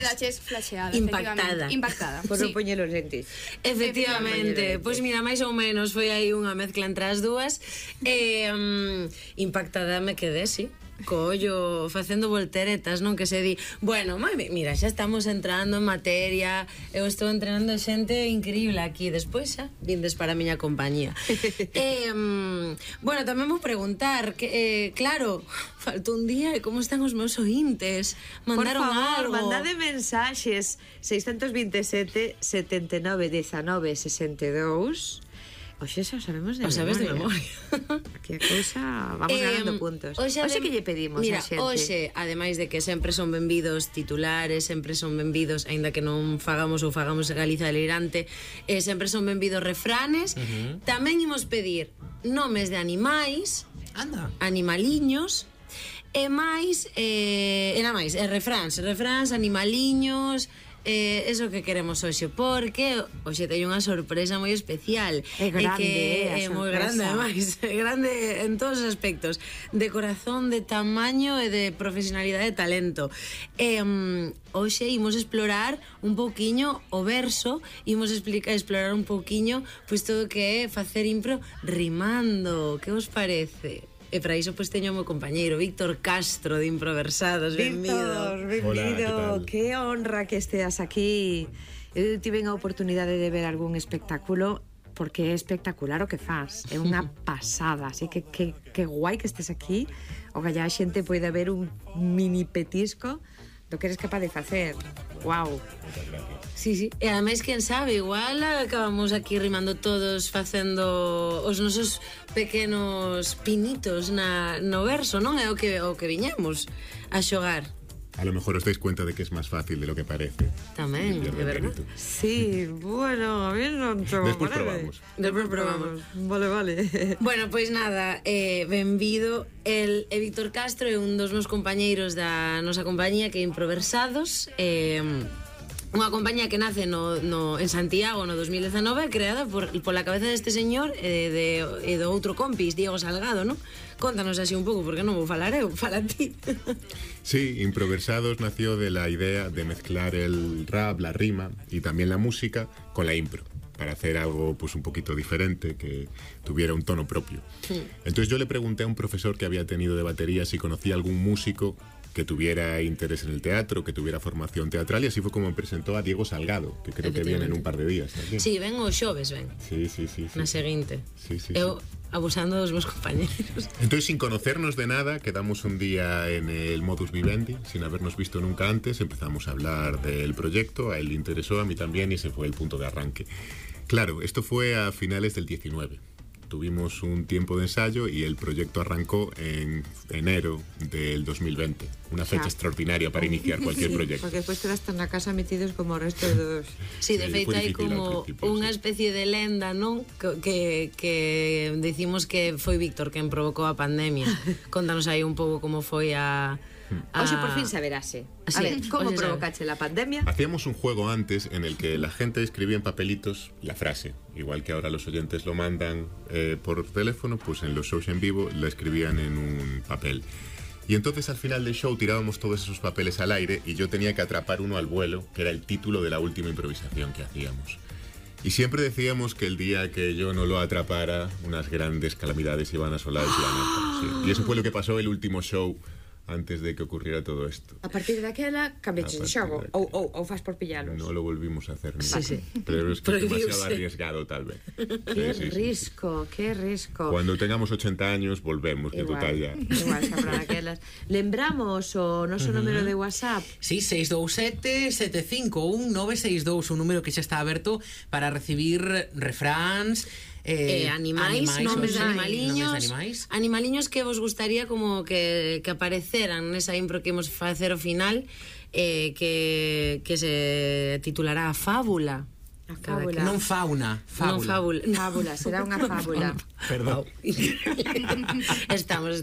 Quedaches flasheada, impactada. Impactada. Por non poñer os lentes. Efectivamente, pois mira, máis ou menos foi aí unha mezcla entre as dúas. Impactada me quedé, sí, co ollo facendo volteretas, non? Que se di, bueno, mira, xa estamos entrando en materia, eu estou entrenando xente increíble aquí, despois xa vindes para a miña compañía. Bueno, tamén vou preguntar que, claro, faltou un día e como están os meus ointes? Mandaron por favor, algo? mandade mensaxes 627 79 19 62. Oxe, xa sabemos de memoria. O sabes de memoria. Que cousa, vamos ganando puntos. Oxe que lle pedimos mira, a xente? Oxe, ademais de que sempre son benvidos titulares, sempre son benvidos, aínda que non fagamos Galiza delirante, sempre son benvidos refranes. Tamén imos pedir nomes de animais, animaliños, e máis, refráns, animaliños. Eso que queremos hoxe, porque hoxe teño unha sorpresa moi especial. É grande, é moi grande, ademais, é grande en todos os aspectos, de corazón, de tamaño e de profesionalidade e talento. Hoxe imos explorar un pouquiño o verso, imos explorar un pouquiño pois todo o que é facer impro rimando. Que vos parece? E para iso pois teño o meu compañeiro Víctor Castro de Improversados. Benvido. Benvido. Hola, que honra que esteas aquí. Eu tive a oportunidade de ver algún espectáculo, porque é espectacular o que faz, é unha pasada, así que guai que estés aquí. O que a xente poida ver un mini petisco do que eres capaz de facer. Wow. Sí, sí. E ademais, quen sabe, igual acabamos aquí rimando todos, facendo os nosos pequenos pinitos no verso, non? É o que viñemos a xogar. A lo mejor os dais cuenta de que es más fácil de lo que parece. Tamén, é verdad. Sí, bueno, a mí non te Despois probamos. Despois probamos. Vale. Bueno, pois nada, benvido. El Víctor Castro é un dos meus compañeiros da nosa compañía, que é Improversados. Unha compañía que nace en Santiago no 2019, creada pola cabeza deste señor e do outro compis, Diego Salgado, non? Contanos así un pouco, porque non vou falar eu, fala ti. Sí, Improversados nació de la idea de mezclar el rap, la rima y también la música con la impro, para hacer algo pues un poquito diferente, que tuviera un tono propio. Entonces yo le pregunté a un profesor que había tenido de batería si conocía algún músico que tuviera interés en el teatro, que tuviera formación teatral, y así fue como me presentó a Diego Salgado, que creo que viene en un par de días también. Sí, ven o xoves, ven. Sí. Na seguinte. Sí. Eu abusando dos meus compañeros. Entonces, sin conocernos de nada, quedamos un día en el modus vivendi, sin habernos visto nunca antes, empezamos a hablar del proyecto, a él le interesó, a mí también, y ese fue el punto de arranque. Claro, esto fue a finales del 19. Tuvimos un tiempo de ensayo y el proyecto arrancó en enero del 2020. Una fecha extraordinaria para iniciar cualquier proyecto. Porque despois quedaste na casa metidos como o resto dos... Sí, de feito hai como unha especie de lenda, non? Que decimos que foi Víctor quen provocou a pandemia. Contanos aí un pouco como foi a... Oxe, por fin saberase. A ver, ¿cómo provocaste la pandemia? Hacíamos un juego antes en el que la gente escribía en papelitos la frase. Igual que ahora los oyentes lo mandan por teléfono, pues en los shows en vivo la escribían en un papel. Y entonces al final del show tirábamos todos esos papeles al aire y yo tenía que atrapar uno al vuelo, que era el título de la última improvisación que hacíamos. Y siempre decíamos que el día que yo no lo atrapara, unas grandes calamidades iban a asolar el planeta. Sí. Y eso fue lo que pasó el último show antes de que ocurriera todo esto. A partir daquela cambiaste de xogo ou faz por pillalos? No lo volvimos a hacer nunca. Sí. Pero es que es demasiado arriesgado, tal vez. Qué risco. Cuando tengamos 80 años, volvemos, que total ya. Igual, sabrán aquelas. Lembramos o noso número de WhatsApp. Sí, 627-751-962, un número que xa está aberto para recibir refráns, animais, nomes de animaliños que vos gustaría como que apareceran nesa impro que imos facer ao final, que se titulará A Fábula. A fábula. Non fauna, fábula. Non fábula. Fábula, será unha fábula. Perdón. Estamos.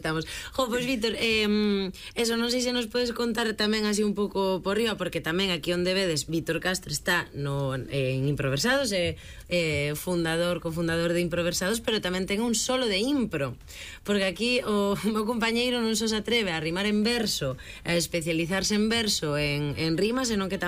Jo, pois Víctor, eso non sei se nos podes contar tamén así un pouco por riba, porque tamén aquí onde vedes, Víctor Castro está en Improversados, cofundador de Improversados, pero tamén ten un solo de impro, porque aquí o meu compañeiro non só se atreve a rimar en verso, a especializarse en verso, en rimas, senón que tamén